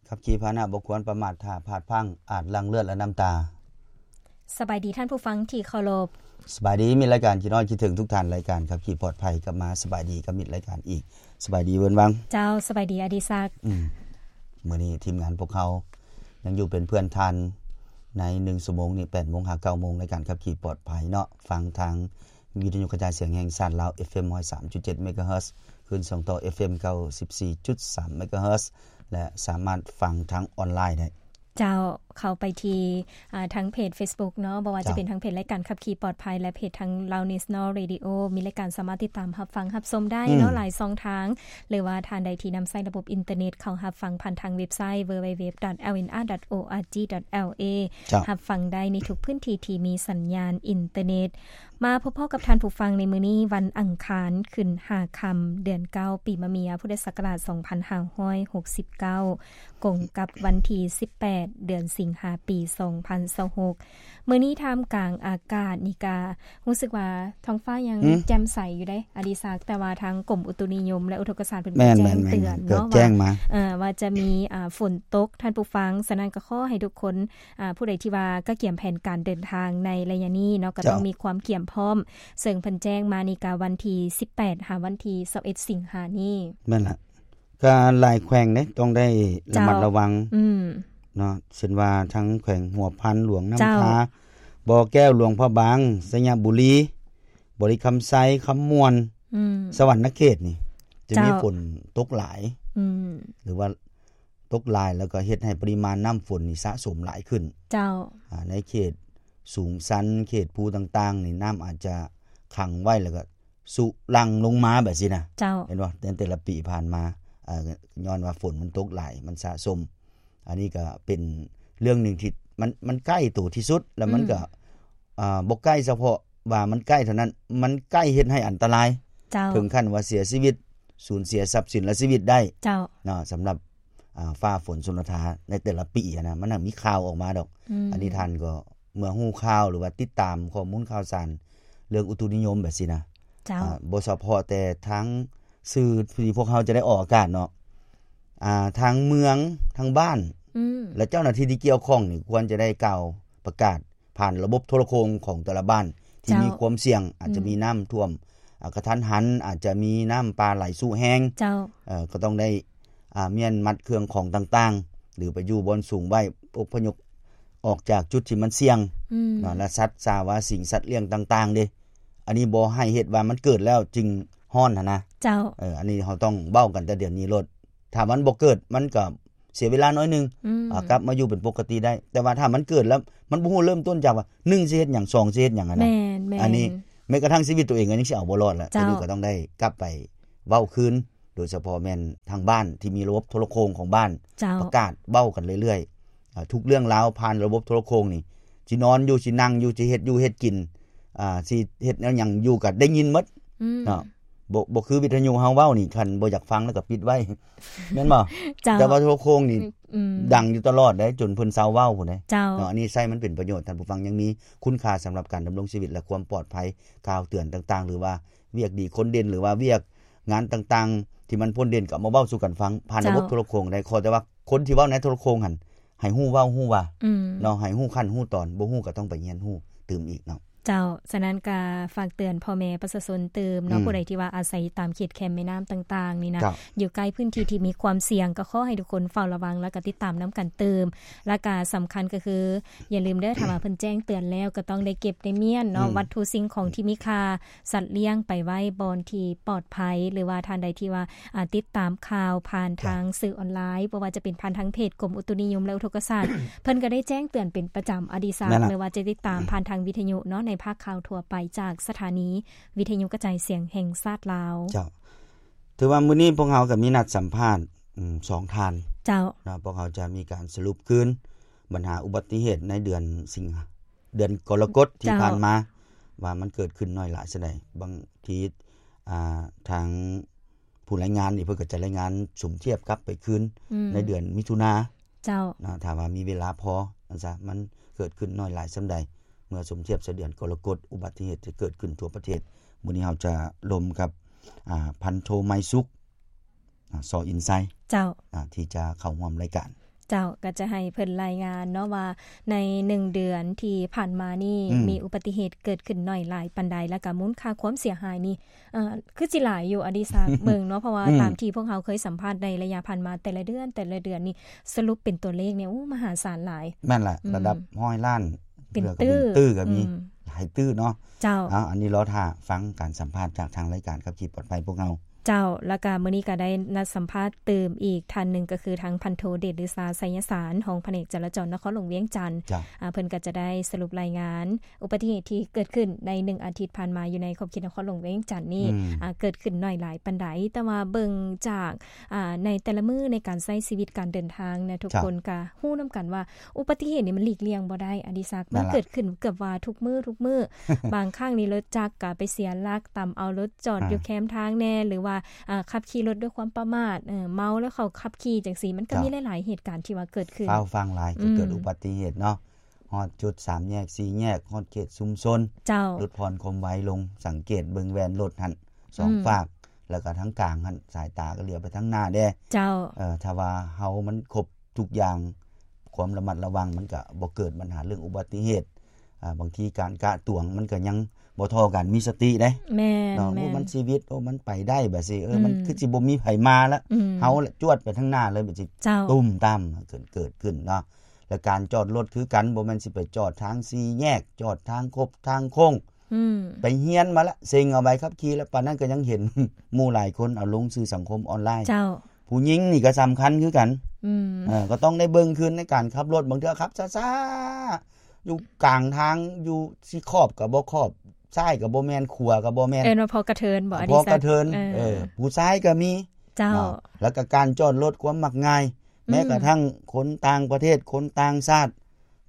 ຂັບຂີ່ພາຫະນະບໍ່ຄວນປະໝາດ ຖ້າພາດພລັ້ງອາດຫຼັ່ງເລືອດ ແລະ ນ້ຳຕາ. ສະບາຍດີທ່ານຜູ້ຟັງທີ່ເຄົາລົບ. ສະບາຍດີມິດລາຍການ ຄິດຮອດຄິດເຖິງທຸກທ່ານ. ລາຍການຂັບຂີ່ປອດໄພກັບມາສະບາຍດີກັບມິດລາຍການອີກ. ສະບາຍດີເວີນວັງ. ເຈົ້າ ສະບາຍດີອະດີສັກ. ອືມ ມື້ນີ້ທີມງານພວກເຮົາຍັງຢູ່ເປັນເພື່ອນທ່ານໃນໜຶ່ງຊົ່ວໂມງນີ້ ແປດໂມງຫາເກົ້າໂມງ ລາຍການຂັບຂີ່ປອດໄພເນາະ. ຟັງທາງວິທະຍຸກະຈາຍສຽງແຫ່ງຊາດລາວ ເອັຟເອັມຮ້ອຍສາມຈຸດເຈັດເມກາເຮີດ ຂຶ້ນສອງຕໍ່ ເອັຟເອັມເກົ້າສິບສີ່ຈຸດສາມເມກາເຮີດ ແລະ ສາມາດຟັງທາງອອນລາຍໄດ້. ເຈົ້າ ເຂົ້າໄປທີ່ ອ່າ ທາງເພຈເຟສບຸກເນາະ ບໍ່ວ່າຈະເປັນທາງເພຈລາຍການຂັບຂີ່ປອດໄພ ແລະ ເພຈທາງ Loud National Radio ມີລາຍການສາມາດຕິດຕາມຮັບຟັງຮັບຊົມໄດ້ເນາະ ອືມ ຫຼາຍຊ່ອງທາງ ຫຼືວ່າທ່ານໃດທີ່ນຳໃຊ້ລະບົບອິນເຕີເນັດ ເຂົ້າຮັບຟັງຜ່ານທາງເວັບໄຊ www.lnr.org.la ເຈົ້າ ຮັບຟັງໄດ້ໃນທຸກພື້ນທີ່ທີ່ມີສັນຍານອິນເຕີເນັດ. ມາພົບພໍ້ກັບທ່ານຜູ້ຟັງໃນມື້ນີ້ ວັນອັງຄານ ຂຶ້ນຫ້າຄ່ຳ ເດືອນເກົ້າ ປີມະເມຍ ພຸດທະສັກກະລາດສອງພັນຫ້າຮ້ອຍຫົກສິບເກົ້າ ກົງກັບວັນທີສິບແປດ ເດືອນສິງຫາ ປີສອງພັນຊາວຫົກ. ມື້ນີ້ທ່າມກາງອາກາດນີ້ກະຮູ້ສຶກວ່າທ້ອງຟ້າຍັງ ຫືມ ແຈ່ມໃສຢູ່ເດ້ ອະດີສັກ, ແຕ່ວ່າທາງກົມອຸຕຸນິຍົມ ແລະ ອຸທົກກະສາດເພິ່ນ ແມ່ນ ກໍແຈ້ງເຕືອນເນາະ ວ່າ ເອີ ວ່າຈະມີ ອ່າ ຝົນຕົກ ທ່ານຜູ້ຟັງ. ສະນັ້ນກໍຂໍໃຫ້ທຸກຄົນ ອ່າ ຜູ້ໃດທີ່ວ່າກະກຽມແຜນການເດີນທາງໃນໄລຍະນີ້ເນາະ ກໍຕ້ອງ ເຈົ້າ ມີຄວາມກຽມພ້ອມ, ເຊິ່ງເພິ່ນແຈ້ງມານີ້ກະວັນທີສິບແປດ ຫາວັນທີຊາວເອັດ ສິງຫານີ້. ແມ່ນລະ ກະຫຼາຍແຂວງເດ້ ຕ້ອງໄດ້ລະມັດລະວັງ ເຈົ້າ ອືມ ເນາະ, ເຊັ່ນວ່າທັງແຂວງຫົວພັນ, ຫຼວງນ້ຳທາ, ເຈົ້າ ບໍ່ແກ້ວ, ຫຼວງພະບາງ, ໄຊຍະບູລີ, ບໍລິຄຳໄຊ, ຄຳມ່ວນ, ອືມ ສະຫວັນນະເຂດນີ້ ຈະມີ ເຈົ້າ ຝົນຕົກຫຼາຍ ອືມ ຫຼືວ່າ ຕົກຫຼາຍ ແລ້ວກໍເຮັດໃຫ້ປະລິມານນ້ຳຝົນນີ້ສະສົມຫຼາຍຂຶ້ນ. ເຈົ້າ. ອາ ໃນເຂດສູງຊັນ ເຂດພູຕ່າງໆນີ້ ນ້ຳອາດຈະຂັງໄວ້ ແລ້ວກໍສຸຫຼັ່ງລົງມາແບບຊີ້ນະ. ເຈົ້າ. ເຫັນບໍ່? ໃນແຕ່ລະປີຜ່ານມາ ເອີ ຍ້ອນວ່າຝົນມັນຕົກຫຼາຍ ມັນສະສົມ. ອັນນີ້ກໍເປັນເລື່ອງໜຶ່ງທີ່ມັນ ມັນໃກ້ໂຕທີ່ສຸດ ແລ້ວມັນກໍ ອືມ ອາ ບໍ່ໃກ້ສະເພາະວ່າມັນໃກ້ເທົ່ານັ້ນ, ມັນໃກ້ເຮັດໃຫ້ອັນຕະລາຍ. ເຈົ້າ. ເຖິງຂັ້ນວ່າເສຍຊີວິດ, ສູນເສຍຊັບສິນ ແລະ ຊີວິດໄດ້. ເຈົ້າ. ເນາະ, ສຳລັບ ອ່າ ຟ້າຝົນຊົນລະທາໃນແຕ່ລະປີຫັ້ນນະ ມັນຫາມີຂ່າວອອກມາດອກ. ອືມ ອັນນີ້ທ່ານກໍເມື່ອຮູ້ຂ່າວ ຫຼືວ່າຕິດຕາມຂໍ້ມູນຂ່າວສານເລື່ອງອຸຕຸນິຍົມແບບຊີ້ນະ. ເຈົ້າ. ອ່າ ບໍ່ສະເພາະແຕ່ທາງສື່ທີ່ພວກເຮົາຈະໄດ້ອອກອາກາດເນາະ, ອ່າ ທາງເມືອງ, ທາງບ້ານ ອືມ ແລະ ເຈົ້າໜ້າທີ່ທີ່ກ່ຽວຂ້ອງນີ້ ຄວນຈະໄດ້ກ່າວປະກາດ ຜ່ານລະບົບໂທລະໂຄ່ງຂອງແຕ່ລະບ້ານທີ່ ເຈົ້າ ມີຄວາມສ່ຽງ, ອາດຈະ ອືມ ມີນ້ຳຖ້ວມ ອາ ກະທັນຫັນ, ອາດຈະມີນ້ຳປ່າໄຫຼຊຸແຮງ. ເຈົ້າ. ເອີ ກໍຕ້ອງໄດ້ ອາ ມ້ຽນມັດເຄື່ອງຂອງຕ່າງໆ ຫຼືໄປຢູ່ບ່ອນສູງໄວ້, ອົບພະຍົບອອກຈາກຈຸດທີ່ມັນສ່ຽງ ອືມ ເນາະ, ແລະ ສັດສາວາສິ່ງສັດລ້ຽງຕ່າງໆເດ້. ອັນນີ້ບໍ່ໃຫ້ເຮັດວ່າມັນເກີດແລ້ວຈຶ່ງຮ້ອນຫັ້ນນະ. ເຈົ້າ. ເອີ ອັນນີ້ເຮົາຕ້ອງເວົ້າກັນແຕ່ດຽວນີ້ໂລດ. ຖ້າມັນບໍ່ເກີດ ມັນກໍ ເສຍເວລາໜ້ອຍໜຶ່ງ ອືມ ອ່າ ກັບມາຢູ່ເປັນປົກກະຕິໄດ້. ແຕ່ວ່າຖ້າມັນເກີດແລ້ວ ມັນບໍ່ຮູ້ເລີ່ມຕົ້ນຈາກວ່າ ໜຶ່ງ ຊິເຮັດຫຍັງ, ສອງ ຊິເຮັດຫຍັງຫັ້ນນະ. ແມ່ນໆ. ອັນນີ້ແມ້ກະທັ່ງຊີວິດຕົວເອງກໍຍັງຊິເອົາບໍ່ລອດລະ. ເຈົ້າ. ຕົວນີ້ກໍຕ້ອງໄດ້ກັບໄປເວົ້າຄືນ, ໂດຍສະເພາະແມ່ນທາງບ້ານທີ່ມີລະບົບໂທລະໂຄ່ງຂອງບ້ານ ເຈົ້າ ປະກາດເວົ້າກັນເລື້ອຍໆ. ອ່າ ທຸກເລື່ອງລາວຜ່ານລະບົບໂທລະໂຄ່ງນີ້ ຊິນອນຢູ່, ຊິນັ່ງຢູ່, ຊິເຮັດຢູ່ເຮັດກິນ, ອ່າ ຊິເຮັດແນວຫຍັງຢູ່ກໍໄດ້ຍິນໝົດ ອືມ ເນາະ. ບໍ່ ບໍ່ຄືວິທະຍຸເຮົາເວົ້ານີ້ ຄັນບໍ່ຢາກຟັງແລ້ວກໍປິດໄວ້ ແມ່ນບໍ່? ເຈົ້າ. ແຕ່ວ່າໂທລະໂຄ່ງນີ້ ອືມ ດັງຢູ່ຕະຫຼອດເດ້ ຈົນເພິ່ນເຊົາເວົ້າພຸ້ນເດ້. ເຈົ້າ. ເນາະ, ອັນນີ້ໃຊ້ມັນເປັນປະໂຫຍດ ທ່ານຜູ້ຟັງ, ຍັງມີຄຸນຄ່າສຳລັບການດຳລົງຊີວິດ ແລະ ຄວາມປອດໄພ, ຂ່າວເຕືອນຕ່າງໆ ຫຼືວ່າວຽກດີຄົນເດັ່ນ ຫຼືວ່າວຽກງານຕ່າງໆ ທີ່ມັນພົ້ນເດັ່ນ ກໍເອົາມາເວົ້າສູ່ກັນຟັງ ຜ່ານລະບົບ ເຈົ້າ ໂທລະໂຄ່ງໄດ້. ຂໍແຕ່ວ່າຄົນທີ່ເວົ້າໃນໂທລະໂຄ່ງຫັ້ນ ໃຫ້ຮູ້ເວົ້າຮູ້ວ່າ ອືມ ເນາະ, ໃຫ້ຮູ້ຂັ້ນຮູ້ຕອນ, ບໍ່ຮູ້ກໍຕ້ອງໄປຮຽນຮູ້ຕື່ມອີກເນາະ. ເຈົ້າ. ສະນັ້ນກະຝາກເຕືອນພໍ່ແມ່ປະຊາຊົນຕື່ມເນາະ, ອືມ ຜູ້ໃດທີ່ວ່າອາໄສຕາມເຂດແຄມແມ່ນ້ຳຕ່າງໆນີ້ນະ, ເຈົ້າ ຢູ່ໃກ້ພື້ນທີ່ທີ່ມີຄວາມສ່ຽງ ກໍຂໍໃຫ້ທຸກຄົນເຝົ້າລະວັງ ແລ້ວກໍຕິດຕາມນຳກັນຕື່ມ. ແລ້ວກະສຳຄັນກໍຄື ຢ່າລືມເດີ, ຖ້າວ່າເພິ່ນແຈ້ງເຕືອນແລ້ວ ກໍຕ້ອງໄດ້ເກັບໄດ້ມ້ຽນເນາະ, ອືມ ວັດຖຸສິ່ງຂອງທີ່ມີຄ່າ, ສັດລ້ຽງໄປໄວ້ບ່ອນທີ່ປອດໄພ ຫຼືວ່າທ່ານໃດທີ່ວ່າ ອ່າ ຕິດຕາມຂ່າວຜ່ານທາງ ເຈົ້າ ສື່ອອນລາຍ, ບໍ່ວ່າຈະເປັນຜ່ານທາງເພຈກົມອຸຕຸນິຍົມ ແລະ ອຸທົກກະສາດ ເພິ່ນກໍໄດ້ແຈ້ງເຕືອນເປັນປະຈຳ ອະດີສັກ, ແມ່ນລະ ຫຼືວ່າຈະຕິດຕາມ ອືມ ຜ່ານທາງວິທະຍຸເນາະ, ໃນພາກຂ່າວທົ່ວໄປຈາກສະຖານີວິທະຍຸກະຈາຍສຽງແຫ່ງຊາດລາວ. ເຈົ້າ. ຖືວ່າມື້ນີ້ພວກເຮົາກໍມີນັດສຳພາດ ອືມ ສອງທ່ານ. ເຈົ້າ. ເນາະ, ພວກເຮົາຈະມີການສະຫຼຸບຄືນບັນຫາອຸບັດຕິເຫດໃນເດືອນສິງຫາ ເດືອນກໍລະກົດທີ່ ເຈົ້າ ຜ່ານມາ ວ່າມັນເກີດຂຶ້ນໜ້ອຍຫຼາຍສ່ຳໃດ. ບາງທີ ອ່າ ທາງຜູ້ລາຍງານນີ້ ເພິ່ນກໍຈະລາຍງານສົມທຽບກັບໄປຄືນ ອືມ ໃນເດືອນມິຖຸນາ. ເຈົ້າ. ນະ, ຖ້າວ່າມີເວລາພໍ, ອັນຊະ ມັນເກີດຂຶ້ນໜ້ອຍຫຼາຍສ່ຳໃດ ເມື່ອສົມທຽບໃສ່ເດືອນກໍລະກົດ, ອຸບັດຕິເຫດຈະເກີດຂຶ້ນທົ່ວປະເທດ. ມື້ນີ້ເຮົາຈະລົມກັບ ອ່າ ພັນໂທ ໄມສຸກ. ສ ອິນໄຊ ເຈົ້າ ອາ ທີ່ຈະເຂົ້າຮ່ວມລາຍການ. ເຈົ້າ ກໍຈະໃຫ້ເພິ່ນລາຍງານເນາະວ່າ ໃນໜຶ່ງເດືອນທີ່ຜ່ານມານີ້ ອືມ ມີອຸບັດຕິເຫດເກີດຂຶ້ນໜ້ອຍຫຼາຍປານໃດ ແລ້ວກໍມູນຄ່າຄວາມເສຍຫາຍນີ້ ເອີ ຄືຊິຫຼາຍຢູ່ ອະດິສັກ ເບິ່ງເນາະ ເພາະວ່າ ອືມ ຕາມທີ່ພວກເຮົາເຄີຍສຳພາດໃນໄລຍະຜ່ານມາ ແຕ່ລະເດືອນ ແຕ່ລະເດືອນນີ້ ສະຫຼຸບເປັນຕົວເລກນີ້ ໂອ້ ມະຫາສານຫຼາຍ. ແມ່ນລະ ອືມ ລະດັບຮ້ອຍລ້ານ ເປັນຕື້ ເປັນຕື້ກໍມີ ອືມ ຫຼາຍຕື້ເນາະ. ເຈົ້າ ເອົາ ອັນນີ້ລໍຖ້າຟັງການສຳພາດຈາກທາງລາຍການຂັບຂີ່ປອດໄພພວກເຮົາ. ເຈົ້າ ແລ້ວກະມື້ນີ້ກະໄດ້ນັດສຳພາດຕື່ມອີກທ່ານໜຶ່ງ ກໍຄືທາງພັນໂທ ເດດລືຊາ ໄຊຍະສານ ຮອງພະແນກຈະລາຈອນນະຄອນຫຼວງວຽງຈັນ. ເຈົ້າ ອາ ເພິ່ນກໍຈະໄດ້ສະຫຼຸບລາຍງານອຸບັດຕິເຫດທີ່ເກີດຂຶ້ນໃນໜຶ່ງອາທິດຜ່ານມາຢູ່ໃນຂອບເຂດນະຄອນຫຼວງວຽງຈັນນີ້ ອືມ ອາ ເກີດຂຶ້ນໜ້ອຍຫຼາຍປານໃດ. ແຕ່ວ່າເບິ່ງຈາກ ອາ ໃນແຕ່ລະມື້ໃນການໃຊ້ຊີວິດການເດີນທາງນະ ທຸກ ເຈົ້າ ຄົນກະຮູ້ນຳກັນວ່າ ອຸບັດຕິເຫດນີ້ມັນຫຼີກລ່ຽງບໍ່ໄດ້ ອະດິສັກ ແມ່ນລະ ມັນເກີດຂຶ້ນເກືອບວ່າທຸກມື້ ທຸກມື້ ບາງຄັ້ງນີ້ລົດຈັກກະໄປເສຍຫຼັກ ຕຳເອົາລົດຈອດ ອາ ຢູ່ແຄມທາງແດ່ ຫຼືວ່າ ອາ ຂັບຂີ່ລົດດ້ວຍຄວາມປະໝາດ ເອີ ເມົາແລ້ວເຂົາຂັບຂີ່ຈັ່ງຊີ້ ມັນກໍ ເຈົ້າ ມີຫຼາຍໆເຫດການທີ່ວ່າເກີດຂຶ້ນ. ຟ້າວຟັ່ງຫຼາຍ ອືມ ກໍເກີດອຸບັດຕິເຫດເນາະ ຮອດຈຸດສາມແຍກ ສີ່ແຍກ ຮອດເຂດຊຸມຊົນ ເຈົ້າ ຫຼຸດຜ່ອນຄວາມໄວລົງ ສັງເກດເບິ່ງແວ່ນລົດຫັ້ນ ສອງ ອືມ ຟາກ ແລ້ວກໍທາງກາງຫັ້ນ ສາຍຕາກໍຫຼຽວໄປທາງໜ້າແດ່ ເຈົ້າ ເອີ ຖ້າວ່າເຮົາມັນຄົບທຸກຢ່າງ ຄວາມລະມັດລະວັງ ມັນກະບໍ່ເກີດບັນຫາເລື່ອງອຸບັດຕິເຫດ. ອາ ບາງທີການກະຕວງມັນກະຍັງບໍ່ທໍ່ກັນ ມີສະຕິເດ້ ແມ່ນ ເນາະ ແມ່ນ ໂອ້ ມັນຊີວິດ ໂອ້ ມັນໄປໄດ້ບາດຊີ້ ເອີ ອືມ ມັນຄືຊິບໍ່ມີໃຜມາລະ ອືມ ເຮົາລະຈວດໄປທາງໜ້າເລີຍ ບາດຊີ້ ເຈົ້າ ຕຸ້ມຕາມ ເກີດ ເກີດຂຶ້ນເນາະ. ແລະການຈອດລົດຄືກັນ ບໍ່ແມ່ນຊິໄປຈອດທາງສີ່ແຍກ ຈອດທາງຄົບທາງໂຄ້ງ ອືມ ໄປຮຽນມາລະ ເສັງເອົາໃບຂັບຂີ່ລະ ປານນັ້ນກໍຍັງເຫັນໝູ່ຫຼາຍຄົນເອົາລົງສື່ສັງຄົມອອນລາຍ. ເຈົ້າ ຜູ້ຍິງນີ້ກໍສຳຄັນຄືກັນ ອືມ ເອີ ກໍຕ້ອງໄດ້ເບິ່ງຄືນໃນການຂັບລົດ ບາງເທື່ອຂັບຊ້າໆ ຢູ່ກາງທາງ ຢູ່ຊິຂອບກໍບໍ່ຂອບ ຊ້າຍກໍບໍ່ແມ່ນ ຂວາກໍບໍ່ແມ່ນ ເອີ້ນວ່າພໍກະເທີນບໍ ອະ ອະດິສັກ ພໍກະເທີນ ເອີ ເອີ ຜູ້ຊາຍກໍມີ ເຈົ້າ ເນາະ ແລ້ວກໍການຈອດລົດ ຄວາມມັກງ່າຍ ອືມ ແມ້ກະທັ່ງຄົນຕ່າງປະເທດ ຄົນຕ່າງຊາດ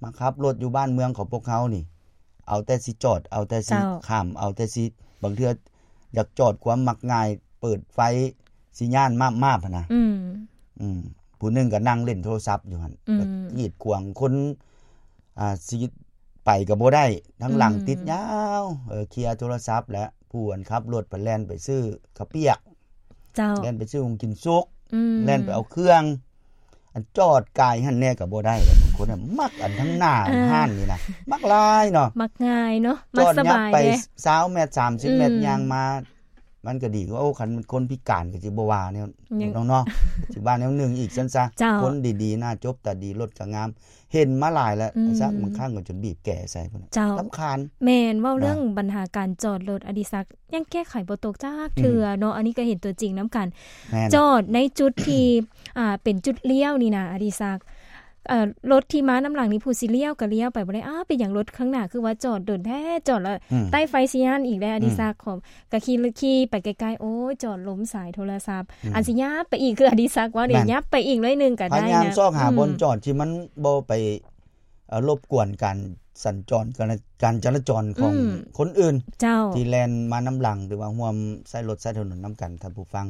ມາຂັບລົດຢູ່ບ້ານເມືອງຂອງພວກເຮົານີ້ ເອົາແຕ່ຊິຈອດ ເອົາແຕ່ຊິ ເຈົ້າ ຂ້າມ ເອົາແຕ່ຊິ ບາງເທື່ອຢາກຈອດຄວາມມັກງ່າຍ ເປີດໄຟຊິຍານມາບໆຫັ້ນນະ ອືມ ອືມ ຜູ້ໜຶ່ງກໍນັ່ງຫຼິ້ນໂທລະສັບຢູ່ຫັ້ນ ອືມ ກໍກີດຂວາງຄົນ ອ່າ ຊິໄປກໍບໍ່ໄດ້ ທາງຫຼັງ ອືມ ຕິດຍາວ ເອີ ເຄຍໂທລະສັບ ແລະຜູ້ອັນຂັບລົດໄປແລ່ນໄປຊື້ເຂົ້າປຽກ ເຈົ້າ ແລ່ນໄປຊື້ຫຸງກິນສຸກ ອືມ ແລ່ນໄປເອົາເຄື່ອງ ອັນຈອດກາຍຫັ້ນແດ່ກໍບໍ່ໄດ້ ບາງຄົນນະມັກອັນທາງໜ້າ ເອີ ຮ້ານນີ້ນະ ມັກຫຼາຍເນາະ ມັກງ່າຍເນາະ ມັກສະບາຍເດ້ ຈອດຍັບໄປຊາວແມັດ ສາມສິບແມັດ ອືມ ຍ່າງມາ ມັນກໍດີກວ່າ ໂອ້ ຄັນຄົນພິການກໍຊິບໍ່ວ່າແນວ ເນາະ ຊິວ່າແນວໜຶ່ງອີກຊັ້ນຊະ ເຈົ້າ ຄົນດີໆ ໜ້າຈົບຕາດີ ລົດກໍງາມ ເຫັນມາຫຼາຍແລ້ວ ອືມ ຊະ ບາງຄັ້ງກໍຈົນບີບແກໃສ່ພຸ້ນ ເຈົ້າ ລຳຄານ ແມ່ນ ເວົ້າເລື່ອງ ເນາະ ບັນຫາການຈອດລົດ ອະດິສັກ ຍັງແກ້ໄຂບໍ່ຕົກຈັກເທື່ອເນາະ ອືມ ອັນນີ້ກໍເຫັນຕົວຈິງນຳກັນ ແມ່ນ ຈອດໃນຈຸດທີ່ ອ່າ ເປັນຈຸດລ້ຽວນີ້ນະ ອະດິສັກ ເອີ ລົດທີ່ມານຳຫຼັງນີ້ ຜູ້ຊິລ້ຽວກໍລ້ຽວໄປບໍ່ໄດ້ ອ້າວ ເປັນຫຍັງລົດຂ້າງໜ້າຄືວ່າຈອດດົນແທ້ ຈອດແລ້ວ ອືມ ໃຕ້ໄຟຊິຍານອີກແລ້ວ ອະດິສັກ ອືມ ກໍຂີ່ ຂີ່ໄປໄກໆ ໂອ້ຍ ຈອດລົມສາຍໂທລະສັບ ອືມ ອັນຊິຫຍັບໄປອີກ ຄືອະດິສັກເວົ້ານີ້ ແມ່ນ ຫຍັບໄປອີກໜ້ອຍໜຶ່ງກໍໄດ້ນະ ພະຍາຍາມຊອກຫາ ອືມ ບ່ອນຈອດທີ່ມັນບໍ່ໄປ ເອີ ລົບກວນການສັນຈອນ ການ ການຈະລາຈອນຂອງ ອືມ ຄົນອື່ນ ເຈົ້າ ທີ່ແລ່ນມານຳຫຼັງ ຫຼືວ່າຮ່ວມໃຊ້ລົດໃຊ້ຖະໜົນນຳກັນ ທ່ານຜູ້ຟັງ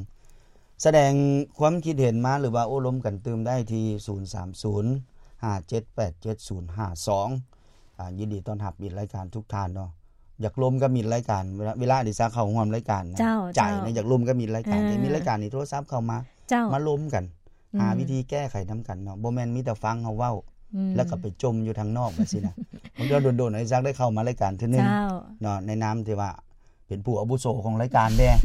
ສະແດງຄວາມຄິດເຫັນມາ ຫຼືວ່າໂອ້ລົມກັນຕື່ມໄດ້ທີ່ ສູນສາມສູນ ຫ້າເຈັດແປດເຈັດສູນຫ້າສອງ ອ່າ ຍິນດີຕ້ອນຮັບມິດລາຍການທຸກທ່ານເນາະ ຢາກລົມກັບມິດລາຍການ ເວລາ ເວລາອະດິສັກເຂົ້າຮ່ວມລາຍການນະ ເຈົ້າ ໃຈນະ ເຈົ້າ ຢາກລົມກັບມິດລາຍການ ເອີ ຢາກມີລາຍການນີ້ໂທລະສັບເຂົ້າມາ ເຈົ້າ ມາລົມກັນ ອືມ ຫາວິທີແກ້ໄຂນຳກັນເນາະ ບໍ່ແມ່ນມີແຕ່ຟັງເຮົາເວົ້າ ອືມ ແລ້ວກໍໄປຈົ່ມຢູ່ທາງນອກແບບຊີ້ນະ ບາງເທື່ອດົນໆ ອະດິສັກໄດ້ເຂົ້າມາລາຍການເທື່ອໜຶ່ງ ເຈົ້າ ເນາະ ໃນນາມທີ່ວ່າເປັນຜູ້ອາວຸໂສຂອງລາຍການແດ່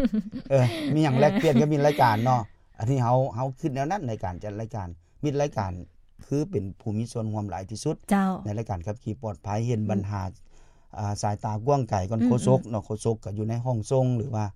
ເອີ ມີຫຍັງແລກປ່ຽນກັບມິດລາຍການເນາະ ອັນນີ້ເຮົາ ເຮົາຄິດແນວນັ້ນໃນການຈັດລາຍການ ມິດລາຍການຄືເປັນຜູ້ມີສ່ວນຮ່ວມຫຼາຍທີ່ສຸດ ເຈົ້າ ໃນລາຍການຂັບຂີ່ປອດໄພ ເຫັນບັນຫາ ອືມ ອ່າ ສາຍຕາກວ້າງໄກກ່ອນ ອືມ ໂຄສົກເນາະ ໂຄສົກກໍຢູ່ໃນຫ້ອງສົ່ງ ຫຼືວ່າ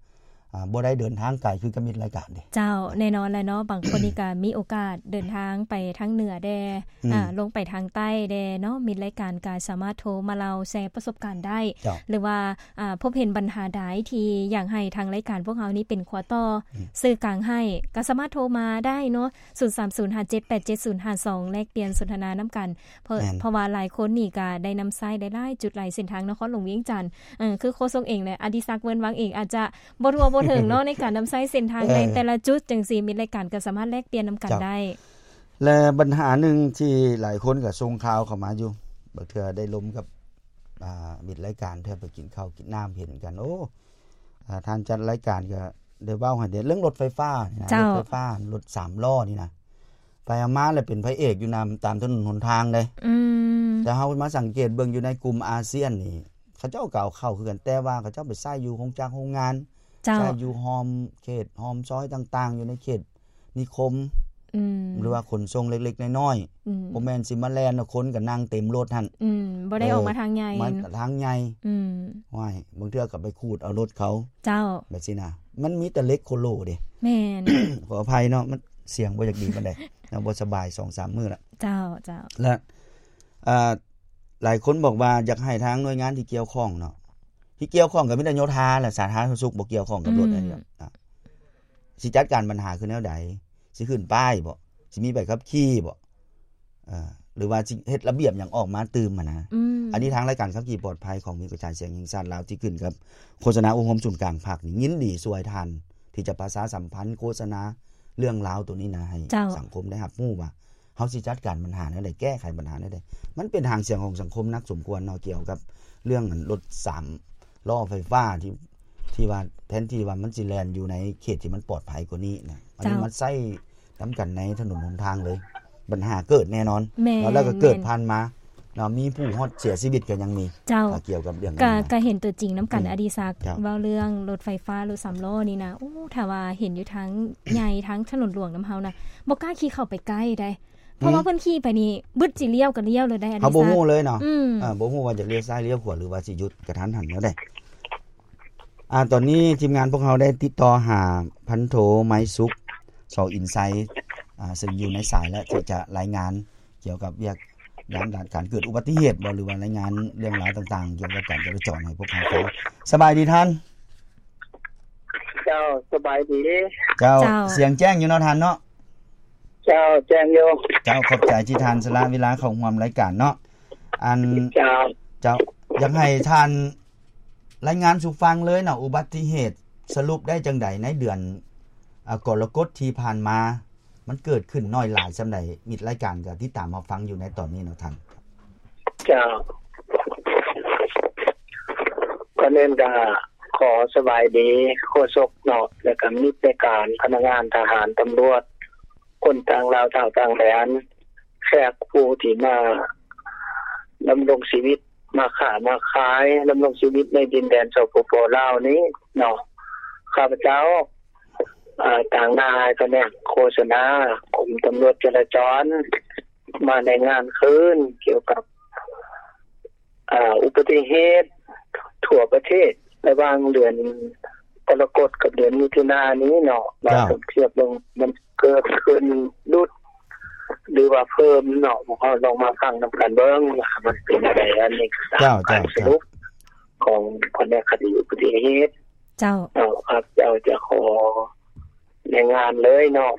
ອ່າ ບໍ່ໄດ້ເດີນທາງໄກຄືກັບມິດລາຍການເດ້ ເຈົ້າ ແນ່ນອນແຫຼະເນາະ ບາງຄົນນີ້ກໍມີໂອກາດເດີນທາງໄປທາງເໜືອແດ່ ອືມ ອ່າ ລົງໄປທາງໃຕ້ແດ່ເນາະ ມິດລາຍການກໍສາມາດໂທມາເລົ່າແຊປະສົບການໄດ້ ເຈົ້າ ຫຼືວ່າ ອ່າ ພົບເຫັນບັນຫາໃດທີ່ຢາກໃຫ້ທາງລາຍການພວກເຮົານີ້ເປັນຂົວຕໍ່ ອືມ ສື່ກາງໃຫ້ ກໍສາມາດໂທມາໄດ້ເນາະ ສູນສາມສູນ ຫ້າເຈັດແປດເຈັດສູນຫ້າສອງ ແລກປ່ຽນສົນທະນານຳກັນ ເພາະ ແມ່ນ ເພາະວ່າຫຼາຍຄົນນີ້ກໍໄດ້ນຳໃຊ້ໄດ້ຫຼາຍຈຸດຫຼາຍເສັ້ນທາງນະຄອນຫຼວງວຽງຈັນ ເອີ ຄືໂຄສົກເອງ ແລະ ອະດິສັກ ເວີນວັງເອງ ອາດຈະບໍ່ທົ່ວບໍ່ເຖິງເນາະ ໃນການນຳໃຊ້ເສັ້ນທາງ ເອີ ໃນແຕ່ລະຈຸດຈັ່ງຊີ້ ມິດລາຍການກໍສາມາດແລກປ່ຽນນຳກັນ ເຈົ້າ ໄດ້ ແລະ ບັນຫາໜຶ່ງທີ່ຫຼາຍຄົນກໍສົ່ງຂ່າວເຂົ້າມາຢູ່ ບາງເທື່ອໄດ້ລົມກັບ ອ່າ ມິດລາຍການ ເທື່ອໄປກິນເຂົ້າກິນນ້ຳເຫັນກັນ ໂອ້ ອ່າ ທ່ານຈັດລາຍການກໍ ໄດ້ເວົ້າໃຫ້ເດ້ ເລື່ອງລົດໄຟຟ້ານີ້ນະ ເຈົ້າ ລົດໄຟຟ້າ ລົດສາມລໍ້ນີ້ນະ ໄປເອົາມາແລ້ວເປັນພະເອກຢູ່ນຳຕາມຖະໜົນຫົນທາງເດ້. ອືມ ແຕ່ເຮົາມາສັງເກດເບິ່ງຢູ່ໃນກຸ່ມອາຊຽນນີ້ ເຂົາເຈົ້າກໍເອົາເຂົ້າຄືກັນ ແຕ່ວ່າເຂົາເຈົ້າໄປໃຊ້ຢູ່ໂຮງຈັກໂຮງງານ ເຈົ້າ ໃຊ້ຢູ່ອ້ອມເຂດອ້ອມຊອຍຕ່າງໆ ຢູ່ໃນເຂດນິຄົມ ອືມ ຫຼືວ່າຂົນສົ່ງເລັກໆນ້ອຍໆ ອືມ ບໍ່ແມ່ນຊິມາແລ່ນເອົາຄົນກໍນັ່ງເຕັມລົດຫັ້ນ ອືມ ບໍ່ໄດ້ ເອີ ອອກມາທາງໃຫຍ່ ມາທາງໃຫຍ່ ອືມ ໂອ້ຍ ບາງເທື່ອກໍໄປຂູດເອົາລົດເຂົາ ເຈົ້າ ແບບຊີ້ນະ ມັນມີແຕ່ເຫຼັກໂຄໂລເດ້. ແມ່ນ ຂໍອະໄພເນາະ ມັນສຽງບໍ່ຢາກດີປານໃດເນາະ ບໍ່ສະບາຍສອງສາມມື້ລະ ເຈົ້າ ເຈົ້າ ແລະ ເອີ ຫຼາຍຄົນບອກວ່າຢາກໃຫ້ທາງໜ່ວຍງານທີ່ກ່ຽວຂ້ອງເນາະ ທີ່ກ່ຽວຂ້ອງກໍມີແຕ່ໂຍທາແຫຼະ ສາທາລະນະສຸກບໍ່ກ່ຽວຂ້ອງກັບລົດ ອືມ ອັນນີ້ ອ່າ ຊິຈັດການບັນຫາຄືແນວໃດ? ຊິຂຶ້ນປ້າຍບໍ່? ຊິມີໃບຂັບຂີ່ບໍ່? ເອີ ຫຼືວ່າຊິເຮັດລະບຽບຫຍັງອອກມາຕື່ມຫັ້ນນະ ອືມ ອັນນີ້ທາງລາຍການຂັບຂີ່ປອດໄພຂອງວິທະຍາສາດສຽງແຫ່ງຊາດລາວ ທີ່ຂຶ້ນກັບໂຄສະນາອົບຮົມສູນກາງພັກນີ້ ຍິນດີຊ່ວຍທ່ານ ທີ່ຈະປະຊາສຳພັນໂຄສະນາເລື່ອງລາວໂຕນີ້ນະ ໃຫ້ ເຈົ້າ ສັງຄົມໄດ້ຮັບຮູ້ວ່າ ເຮົາຊິຈັດການບັນຫາແນວໃດ ແກ້ໄຂບັນຫາແນວໃດ ມັນເປັນຫາງສຽງຂອງສັງຄົມໜັກສົມຄວນເນາະ ກ່ຽວກັບເລື່ອງອັນລົດສາມລໍ້ໄຟຟ້າທີ່ ທີ່ວ່າແທນທີ່ວ່າມັນຊິແລ່ນຢູ່ໃນເຂດທີ່ມັນປອດໄພກວ່ານີ້ນະ ອັນນີ້ ເຈົ້າ ມາໃຊ້ນຳກັນໃນຖະໜົນຫົນທາງເລີຍ ບັນຫາເກີດແນ່ນອນ ແມ່ນ ເນາະ ແລ້ວກໍເກີດ ແມ່ນ ຜ່ານມາເນາະ ມີຜູ້ຮອດເສຍຊີວິດກໍຍັງມີ ເຈົ້າ ອ່າ ກ່ຽວກັບເລື່ອງ ກໍ ນັ້ນນະ ກໍເຫັນຕົວຈິງນຳກັນ ອືມ ອະດີສັກ ເຈົ້າ ເວົ້າເລື່ອງລົດໄຟຟ້າ ລົດສາມລໍ້ນີ້ນະ ໂອ້ ຖ້າວ່າເຫັນຢູ່ທາງໃຫຍ່ ທາງຖະໜົນຫຼວງນຳເຮົານະ ບໍ່ກ້າຂີ່ເຂົ້າໄປໃກ້ໃດ ເພາະວ່າ ອືມ ເພິ່ນຂີ່ໄປນີ້ບຶດຊິລ້ຽວກໍລ້ຽວເລີຍໄດ໋ ອະດີສັກ ເຮົາບໍ່ຮູ້ເລີຍເນາະ ອືມ ເອີ ບໍ່ຮູ້ວ່າຈະລ້ຽວຊ້າຍລ້ຽວຂວາ ຫຼືວ່າຊິຢຸດກະທັນຫັນແນວໃດ. ອ່າ ຕອນນີ້ທີມງານພວກເຮົາໄດ້ຕິດຕໍ່ຫາພັນໂທ ໄມສຸກ ສອນອິນໄຊ ອ່າ ເຊິ່ງຢູ່ໃນສາຍແລ້ວ ທີ່ຈະລາຍງານກ່ຽວກັບວຽກງານດ້ານການເກີດອຸບັດຕິເຫດບໍ່ ຫຼືວ່າລາຍງານເລື່ອງລາວຕ່າງໆ ກ່ຽວກັບການຈະລາຈອນໃຫ້ພວກເຮົາຟັງ. ສະບາຍດີທ່ານ. ເຈົ້າ ສະບາຍດີ. ເຈົ້າ ເຈົ້າ ສຽງແຈ້ງຢູ່ເນາະທ່ານເນາະ? ເຈົ້າ ແຈ້ງຢູ່. ເຈົ້າ ຂອບໃຈທີ່ທ່ານສະຫຼະເວລາເຂົ້າຮ່ວມລາຍການເນາະ. ອັນ ເຈົ້າ ເຈົ້າ ຢາກໃຫ້ທ່ານລາຍງານສູ່ຟັງເລີຍເນາະ ອຸບັດຕິເຫດສະຫຼຸບໄດ້ຈັ່ງໃດໃນເດືອນ ອາ ກໍລະກົດທີ່ຜ່ານມາ ມັນເກີດຂຶ້ນໜ້ອຍຫຼາຍສ່ຳໃດ? ມິດລາຍການກໍຕິດຕາມຮັບຟັງຢູ່ໃນຕອນນີ້ເນາະທ່ານ. ເຈົ້າ ກ່ອນອື່ນກໍຂໍສະບາຍດີໂຄສົກເນາະ ແລ້ວກໍມິດລາຍການ ພະນັກງານທະຫານ ຕຳຫຼວດ ຄົນຕ່າງລາວ ຊາວຕ່າງແດນ ແຂກຜູ້ທີ່ມາດຳລົງຊີວິດ ມາຄ້າມາຂາຍ ດຳລົງຊີວິດໃນດິນແດນ ສປປ ລາວນີ້ເນາະ. ຂ້າພະເຈົ້າ ເອີ ຕາງໜ້າໃຫ້ພະແນກໂຄສະນາ ກົມຕຳຫຼວດຈະລາຈອນ ມາລາຍງານຄືນກ່ຽວກັບ ເອີ ອຸບັດຕິເຫດທົ່ວປະເທດ ລະຫວ່າງເດືອນກໍລະກົດກັບເດືອນມິຖຸນານີ້ເນາະ ວ່າ ເຈົ້າ ສົມທຽບເບິ່ງ ມັນເກີດຂຶ້ນຫຼຸດ ຫຼືວ່າເພີ່ມເນາະ. ພວກເຮົາລອງມາຟັງນຳກັນເບິ່ງວ່າມັນເປັນແນວໃດ. ອັນນີ້ກໍຕາມ ເຈົ້າ ການ ເຈົ້າ ສະຫຼຸບຂອງພະແນກຄະດີອຸບັດຕິເຫດ. ເຈົ້າ ເຈົ້າ ຂ້າພະເຈົ້າຈະຂໍລາຍງານເລີຍເນາະ.